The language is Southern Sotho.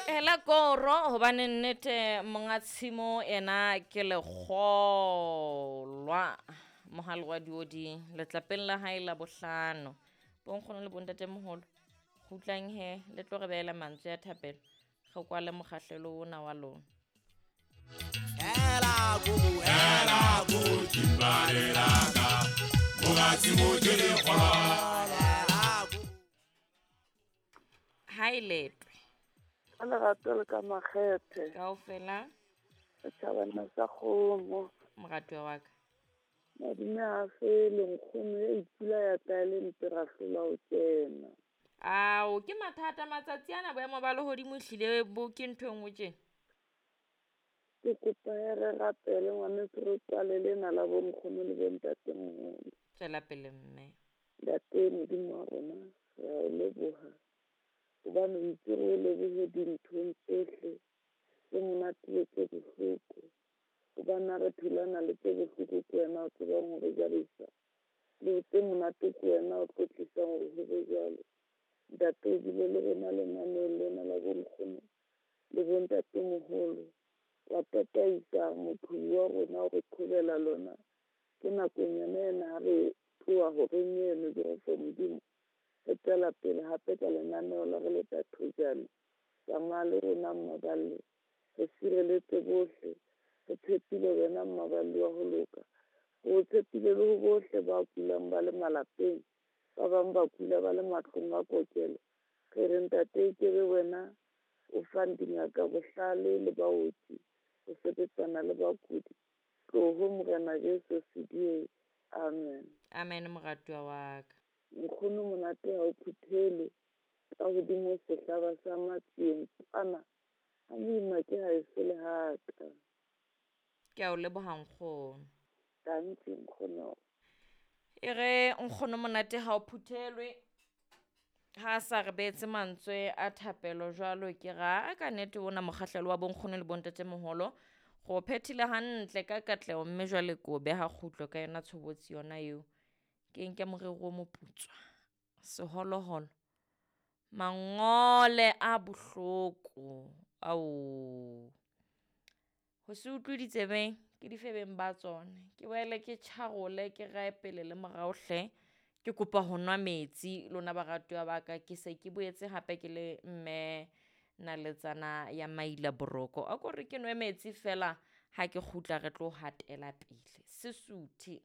Hela koro hobane nnete monga tshimo ena ke lekgolwa mohale wa diodi letlapeng la hae la bohlano. Bonkgono le bontatemoholo kgutlang he le tlo re beela mantswe a thapelo re kwale mokgahlelo ona wa lona. Hela kubu, hela kubu, timbale laka. Monga tshimo ke lekgolwa. Hela kubu. Ha e letwe. Ka lerato le ka makgethe. Kaofela. Setjhabana sa kgomo. Moratuwa wa ka. Madume a fele, nkgono ya ipula ya tla e le mpe ra hlola ho kena. Ao, ke mathata matsatsi ana boemo ba lehodimo ehlile bo ke ntho e nngwe tjena. Ke kopa he re rapele ngwaneso re kwale lena la bo nkgono le bo ntatemoholo. Tswela pele mme. Ntate Modimo wa rona, re a o leboha. Hobane o itse re o lebohe dinthong tsohle tse monate le tse bohloko. Hobane ha re thulana le tse bohloko ke wena o tsebang hore jarisa. Le tse monate ke wena o tlo tlisang hore ho be jwalo. Ntate o bile le rona lenaneong lena la bo nkgono le bo ntatemoholo. Wa tataisa moqhubi wa rona o re qhobela lona. Ke nakong yona ena ha re tloha horeng eno Jehova Modimo. Re tswela pele hape ka lenaneo la re leta thojane. Tsamaya le rona mmaballe. Re sireletse bohle. Re tshepile wena mmaballe wa ho loka. O tshepile le ho bohle ba kulang ba le malapeng. Ba bang ba kula ba le matlong a kokelo. Re re ntate ke be wena o fang dingaka bohlale le baoki ho sebetsana le bakudi. Tloho Morena Jesu sedie. Amen. Amen moratuwa wa ka. Nkgono monate ha o phuthelwe ka hodimo sehlaba sa matsieng kwana. Ha moima ke ha e se le haka. Ke a o leboha nkgono. Tanki nkgono. E re nkgono monate ha o phuthelwe. Ha sa re beetse mantswe a thapelo jwalo ke ra ka nnete ona mokgahlelo wa bonkgono le bontatemoholo go phethile hantle ka katleho mme jwale ko beha kgutlo ka yona tshobotsi yona eo. Ke nke morero o moputswa, seholoholo, mangole a bohloko ao. Ho se utlwe ditsebeng ke difebeng ba tsona. Ke boele ke tjharole ke rae pele le morao hle. Ke kopa ho nwa metsi lona baratuwa ba ka. Ke se ke boetse hape ke le mme naletsana ya maila boroko. A ko re ke nwe metsi fela ha ke kgutla re tlo hatela pele. Sesuthe.